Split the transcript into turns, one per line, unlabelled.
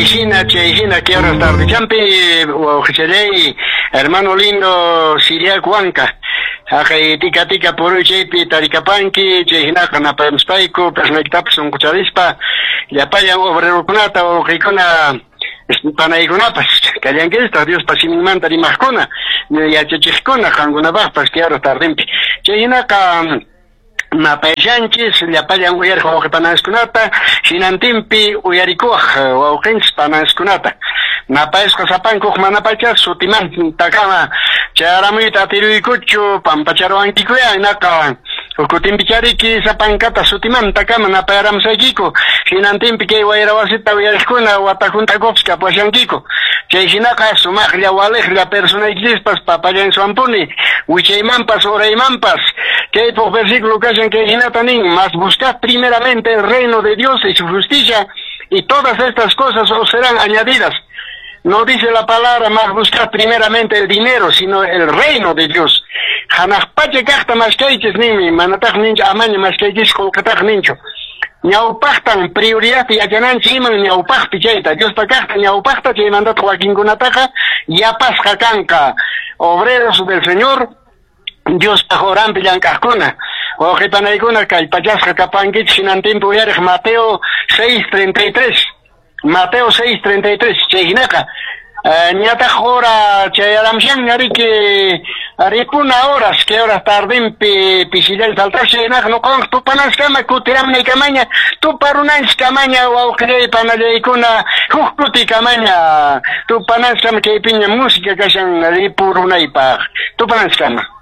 Chay hina, que horas tardechampi, wawqichalay, hermano lindo Siriac Huanca. Haqay tika tika puruy chaypi tarikapanki, chay hinaqa napayamuspayku, personaykitapas sunqucharispa, llapallan obrerokunata, wawqikuna, panaykunapas, kallankichistaq Diospa siminmanta rimaqkuna, yachachiqkuna, qankunapaqpas que horas tardempi. Chay hinaqa napayashanchis llapallan uyariq wawqi pananskunata, hinantinpi uyarikuwaq wawqinchis pananskunata. Napayasqa sapankuq manapacha sutimantakama chayaramuyta atiruykuchu pampacharuwankikuya hinaqa kutinpichariki sapankata sutimantakama napayaramusaykiku hinantinpi kay wayra wasita uyariqkuna wata hunt'akuqpas kapuwashankiku. Chay hinaqa sumaqlla waliqlla personaykichispas papallansuwanpuni wichaymanpas uraymanpas. Kaypuq versículo kashan kay hinata nin: "Mas buscad primeramente el reino de Dios y su justicia, y todas estas cosas os serán añadidas". No dice la palabra "mas buscad primeramente el dinero", sino el reino de Dios. Hanaq pacha kaqta maskaychis ninmi, manataq ninchu amaña maskaychis qullqitaq ninchu. Ñawpaqtan prioridad yachananchik iman ñawpaqpi chayta, Diospa kaqta ñawpaqta, chaymantataq wakinkunataqa yapasqa kanqa. Obreros del Señor, Diospaq horanpi llank'aqkuna, wawqi panaykuna kallpachasqa kapankichik hinantinpi uyariq Mateo 6.33, Mateo 6.33. Chay hinaqa ñataq hora chayaramushanña riki, ripuna horas, que horas tardempi pisillalla faltashan. Hinaqa ñuqawan tupanankama kutiramunay tuparunanchiskamaña, wawqillay panallaykuna, huk kutikamaña tupananchiskama. Kaypiña música kashan ripurunaypaq, tupananchiskama.